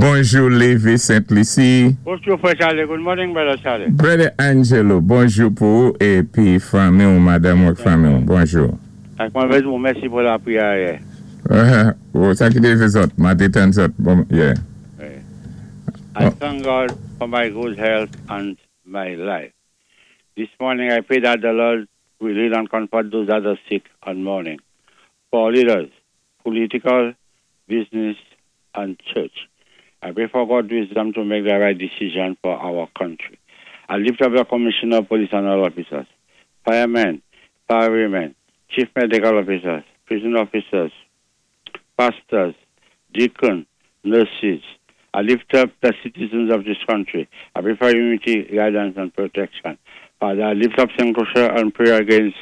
Bonjou Lévis Sent Lisi. Bonjou frè Charlie, good morning, brother Charlie. Brother Angelo, bonjou pou ou épi fanmi ou, madanm ou ak fanmi ou. Bonjou. Ak mwen vlé di ou mèsi pou lapriyè ayè. Oh, sa ki té fè zòt, ma té tann zòt. Bon, yeah. I thank God for my good health and my life. This morning I pray that the Lord will lead and comfort those that are sick and mourning. For leaders, political, business, and church, I pray for God's wisdom to make the right decision for our country. I lift up the commissioner of police and all officers, firemen, firewomen, chief medical officers, prison officers, pastors, deacons, nurses. I lift up the citizens of this country. I pray for unity, guidance, and protection. Father, I lift up St. Lucia and pray against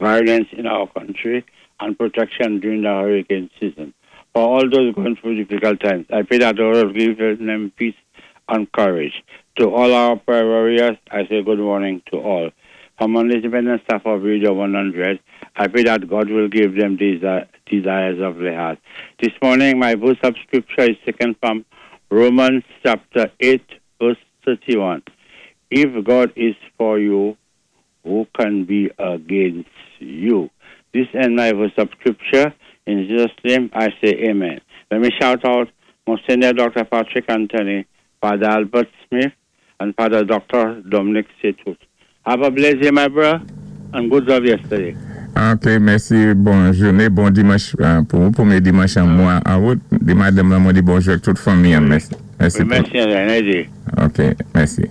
violence in our country and protection during the hurricane season. For all those going through difficult times, I pray that the Lord give them peace and courage. To all our prayer warriors, I say good morning to all. From the independent staff of Radio 100, I pray that God will give them desires of their heart. This morning, my verse of scripture is taken from Romans chapter 8, verse 31. If God is for you, who can be against you? This end my verse of scripture. In Jesus' name, I say amen. Let me shout out Monsignor Dr. Patrick Anthony, Father Albert Smith, and Father Dr. Dominic Setut. Have a blessed day, my brother, and good job yesterday. Ok, mèsi. Bon jouné, bon dimanch pou ou, pwémyé dimanch an mwa an out. Di madanm lan mwen di bonjou ak tout fanmi an. Mèsi. Mèsi. Wi, mèsi, Ok, mèsi.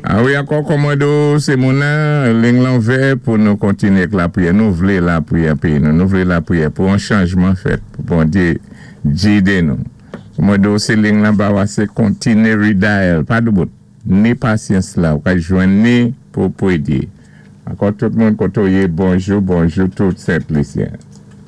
A wi, ankò kòmando sé moun nan, liy lan ouvè pou nou kontinyé ak lapriyè. Nou vlé lapriyè péyi nou. Nou vlé lapriyè pou yon chanjman fèt. Pou Bondyé gidé nou. Kòmando sé liy lan ba ou asé kontinyé redial. Pa doubout. Ni pasyans la, ou ka jwenn ni pou pwédyé. Ankò tout moun koto yé, bonjou, bonjou tout Sent Lisyen.